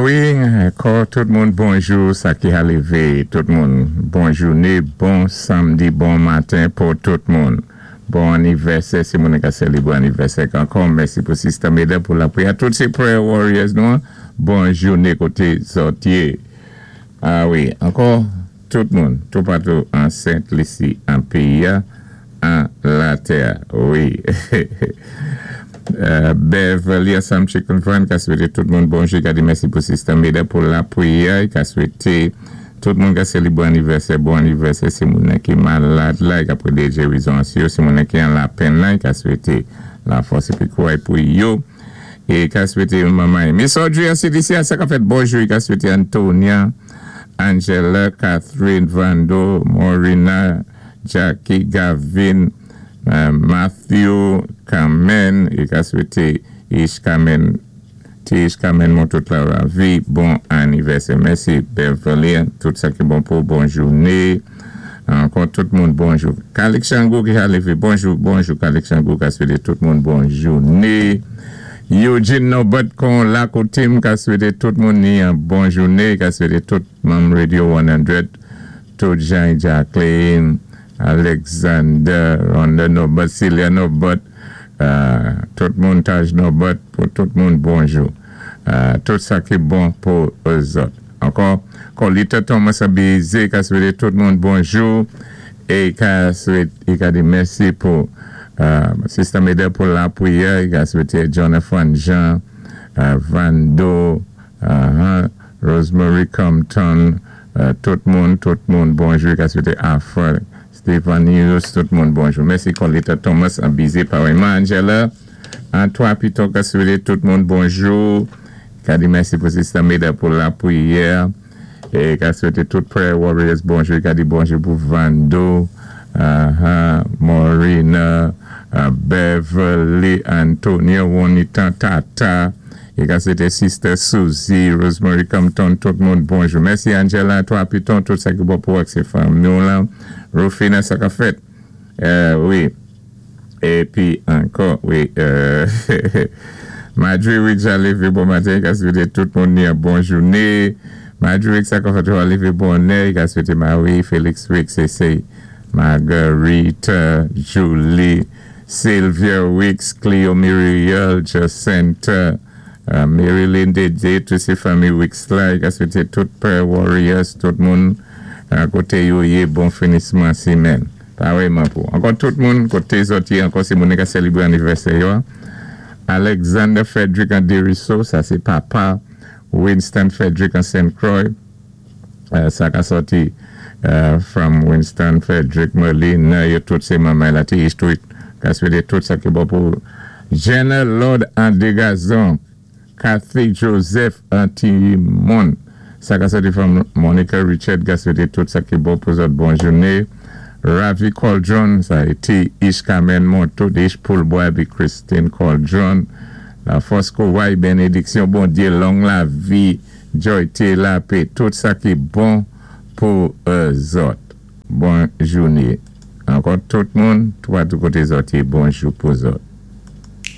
Wi, ankò tout moun bonjou, sa ki a lévé, tout moun bon jouné, bon sanmdi, bon maten pou tout moun. Bon anivèsè si moun ka sélébwé anivèsè ankò. Mèsi pou Sister Meda pou lapriyè. Tout sé prayer warriors nou, bon jouné koté zòt yé. A wi, ankò tout moun, toupatou an Sent Lisi, an péyi a, an latè. Wi. Beverly ansanm Chicken Fan ka swété tout moun bonjou, ka di mèsi pou Sister Meda pou lapriyè, ka swété tout moun ka sélébwé anivèsè, bon anivèsè si moun nan ki malad la, ka pwédé gérizon sou yo, si moun nan ki an lapenn la, ka swété lafòs épi kouray pou yo. É ka swété manman Miss Audrey an CDC sa ka fèt bonjou, ka swété Antonia, Angela, Catherine, Vando, Morina, Jackie, Gavin, Matthew, Carmen, é ka swété Ish Carmen, Tish Carmen Montout la ravi, bon anivèsè. Mèsi Beverly, tout sa ki bon pou bon jouné. Ankò tout moun bonjou. Kalik Chango ki a lévé, bonjou, bonjou Kalik Chango ka swété tout moun bon jouné. Eugene Norbert kon la koté m ka swété tout moun ni an bon jouné, ka swété tout manm Radio 100, tout Jean Jacqueline, Alexander, Ronda Norbert, Celia Norbert, tout moun Taj Norbert, pou tout moun bonjou. Tout sa ki bon pou zòt. Ankò, Colita Thomas Abizé ka swété tout moun bonjou é ka swété, ka di mèsi pou Sister Meda pou lapriyè, ka swété Jonathan Jean, Vando, Rosemary Compton, tout moun, tout moun bonjou, ka swété Afra, Stephen Hughes, tout moun bonjou. Mèsi Colita Thomas Abizé, parèyman Angela, Antoine Piton ka swété tout moun bonjou. Ka di mèsi pou Sister Meda pou lapriyè. É ka swété tout prayer warriors bonjou. Ka di bonjou pou Vando, Morina, Beverly, Antonio, Juanita, Tata. É ka swété Sister Susie, Rosemary Compton, tout moun bonjou. Mèsi Angela, Antoine Piton, tout sa ki bon pou ak sé fanmi la. Rufina, sa ka fèt. Wi. Épi ankò, wi. Marjorie Wicks a lévé bon maten, ka swété tout moun ni an bon jouné. Marjorie Wicks sa ka fèt a lévé bonè, ka swété Marie, Félix Wicks, c'est Marguerite, Julie, Sylvia Wicks, Cleo Muriel, Jacinta, Marilyn Dédé, tout sé fanmi Wicks la, ka swété tout prayer warriors, tout moun koté yo yé bon finisman simèn. Parèyman pou. Ankò tout moun, koté zòt yé ankò si moun ka sélébwé anivèsè yo. Alexander Frederick an Deriso, sa sé papa Winston Frederick an Saint Croix, sa ka sòti from Winston Frederick Merlin, yo tout sé manman la ti Street, ka swété tout sa ki bon pou Jenna Lord an Degazon, Kathy Joseph an Timon, sa ka sòti from Monica Richard, ka swété tout sa ki bon pou zòt bon jouné. Ravi Cauldron, sa é Ish Carmen Montout, Ish Poulboy épi Christine Cauldron, Lafòs kouray, bénédiksyon Bondyé, long lavi, joy lapè, tout sa ki bon pou zòt. Bon jouné. Ankò tout moun, toupatou koté zòt yé, bonjou pou zòt.